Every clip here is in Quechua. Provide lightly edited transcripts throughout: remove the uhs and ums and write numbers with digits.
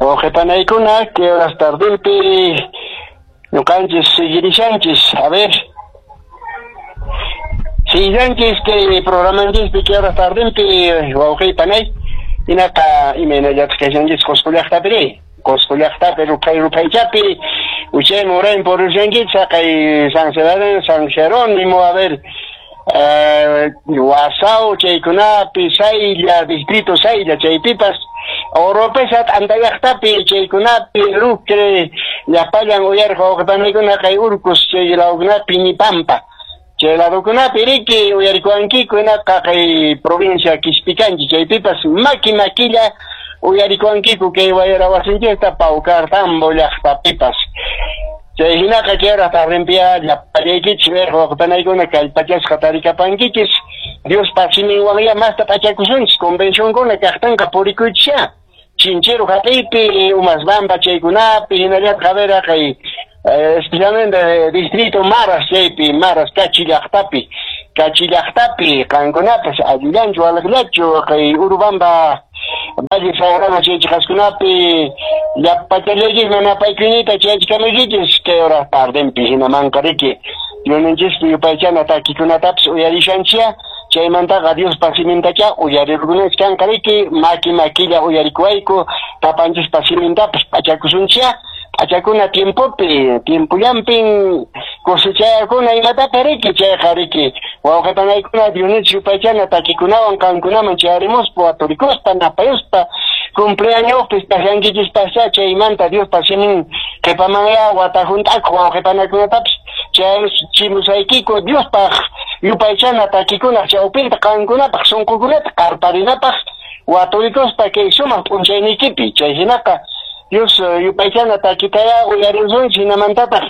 Wawqipanaykuna, kay horas tardinpi ñuqanchis seguirishanchis, a ver. Siguiranchis kay programanchispi kay horas tardinpi wawqipanay, hinaqa imaynallataq kashanchis Qusqu llaqtapi, Qusqu llaqtapi ruphay ruphaychapi, uchayman urayman purishankichis haqay San Sebastián, San Jerónimo, a ver, Wasao chaykunapi, Saylla, distrito Saylla chaypipas, Oropesa t'anta llaqtapi chaykunapi, Lucre, llapallan uyariq wawqipanaykuna kay Urcos chay lawkunapi, Ñipampa chay ladokunapi riki uyarikuwankiku, hinaqa kay provincia Quispicanchi chaypipas maki makilla uyarikuwankiku kay wayra wasinchista Paucartambo llaqtapipas. Chay hinaqa kay hora tardinpiya llapallaykichis uyariq wawqipanaykuna kallpachasqa tarikapankichis, Diospa siminwanya masta p'achakusunchis, convencionkuna kaqtinqa purikuychisya. Chinchero hap'iypi, Umasbamba chaykunapi, hinallataq a ver kay especialmente distrito Maras chaypi, Maras Cachi llaqtapi, Cachi llaqtapi qankunapas allillanchu waliqllachu kay Urubamba Valle Sagrado chay chiqaskunapi llapachallaykichis napaykuynita chayachikamaykichis kay hora tardinpi hinamanqa riki Diosninchispi yupaychana takikunatapas uyarishanchia, chaymantaqa Diospa simintacha uyarirkunanchis kanqa riki maki makilla uyarikuwayku papanchispa simintapas p'achakusunchia, p'achakuna tiempopi, tiempollampin cosechayakuna imatapas riki chayqa riki wawqipanaykuna Diosninchis yupaychana takikunawan qankunaman chayarimuspa waturikuspa napayuspa cumpleañospi kashankichispascha chaymanta Diospa simin qhipamanya wata hunt'akuq wawqipanakunatapas chaychimusaykiku Diospaq yupaychana takikunaq chawpinta qankunapaq sunqukunata qarparinapaq waturikuspa kay sumaq p'unchayniykipi chay hinaqa Dios yupaychana takitaya uyarisunchis hinamantataq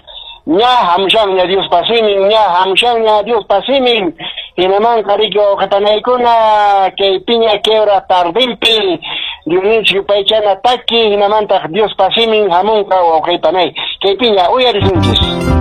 ña hamushanña Diospa simin, ña hamushanña Diospa simin, hinamanqa riki wawqipanaykuna kay piña kay hora tardinpi Diosninchis yupaychana taki hinamantaq Diospa simin hamunqa wawqipanay kay piña uyarisunchis.